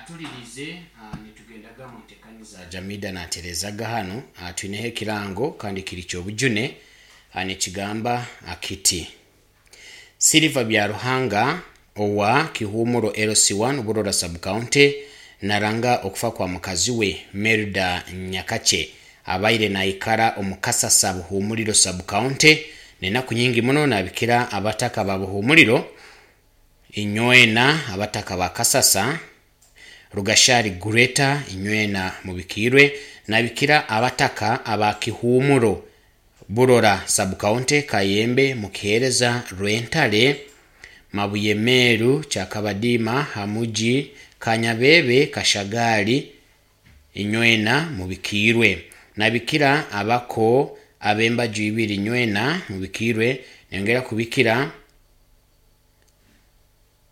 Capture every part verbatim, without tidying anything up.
Atulirize ah, nitugendaga mu ntekaniza Jamida naterezaga hano. ah, twineho ekirango kandi kiri kyobujune, ah, nikigamba akiti Silva Byaruhanga owa Kihumuro L C one Burora Sub-County naranga okufa kwa mukazi we Merida Nyakache abaire naikara omu Kasasa Buhumuriro Sub-County nenaku nyingi muno. Nabikira abataka ba Buhumuriro inywena, abataka ba Kasasa Rugashari Greater inywena mubikirwe. Nabikira abataka aba Kihumuro Burora Sub-County, Kayembe, Mukihereza, Rwentale, Mabuye Meru, Kyakabadima, Hamuji, Kanyabebe, Kashagali inywena mubikirwe. Nabikira abako abembaju ibiri inywena mubikirwe. Nengera kubikira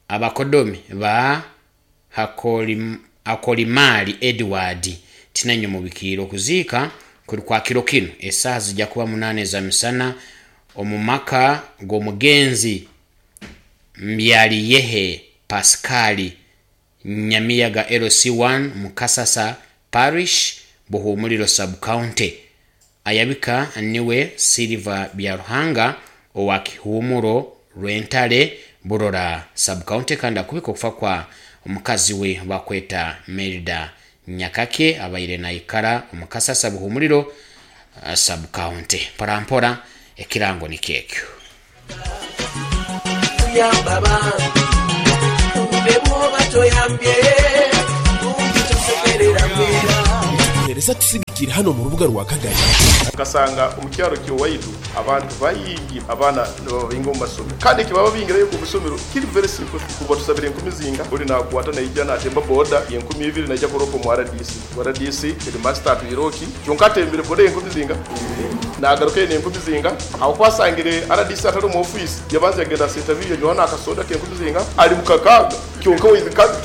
abakodomi ba Hakolim, Hakolimali Edward tinanyo mubikirwe. Okuziika kuri kwa kiro kino esaaha zijja kuba munane za misana omu maka g'omugenzi Mbyaliyehe Pascal Nyamiyaga L C one Mukasasa Parish Buhumuriro Sub-County. Ayabika niwe Silva Byaruhanga owa Kihumuro Rwentale Burora Sub-County kandi akubika okufa kwa omukazi we bakweta Merida Nyakake abaire naikara omukasasa Buhumuriro uh, Sub-County. Mpora mpora ekirango nikyekyo. Tuyamba bambi ne bw'oba toyambye kumpi tosekerera mbeera. Nitukuheereza tusigikire hano mu rubuga rwa Kagari. Ukasanga omukyaro kyowaitu abantu bayingi abaana nibababinga omu masomero kandi ekibaba bingirayo omu isomero kiri very simple. Kuba tusabire enkumi zinga ori nakwata naija natemba boda enkumi ibiri naija kuropa omu R D C. R D C headmaster atwiroki kyonka atembere boda enkumi zinga nagaruka ene enkumi zinga aho kwasangire R D C atari omu office yabanza yagenda senta biyo nywana akasoda k'enkumi zinga ari mukakaga kyonka we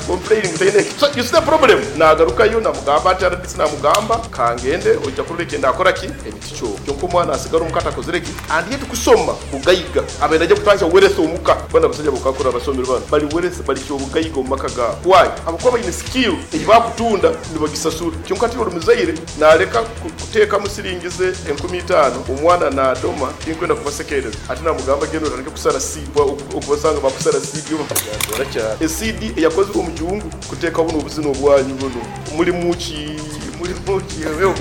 complaining mutene. So you see the problem. Nagaruka yo namugamba ati R D C namugamba kangende ojja kureka ndakora ki ebiticho kyonka omwana asigara omukata akozire ki and yet kusoma bugaiga abenda ajja kutandika weresa omuka bana basajja bokakora abasomero bano bali weresa bali kyo bugaiga omu maka gaabo. Why? Abakuba baine skill eyi bakutunda nibagisasura kyonka ati omuzaire naleka kuteekamu siringi ze enkumi itaano omwana nadoma tinkwenda kubasekereza ati namugamba genda otandike kusara seed okubasanga bakusara seed yo cyane seed eyakozwe omu gihugu kuteeka buno obuzina obwanyu buno muri muki muri muki wewe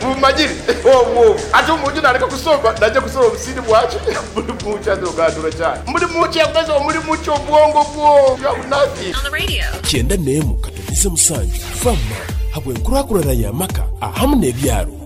mumagiri obwo ati omuntu naleka kusoma najja kusoma obusidi bwaki muri muki azogandura cyane muri muki yakoze muri muki obwongo bwo you have nothing on the radio. Kyenda nemu katonize musanju fama habwe nkurakurana ya maka ahamu n'ebyaro.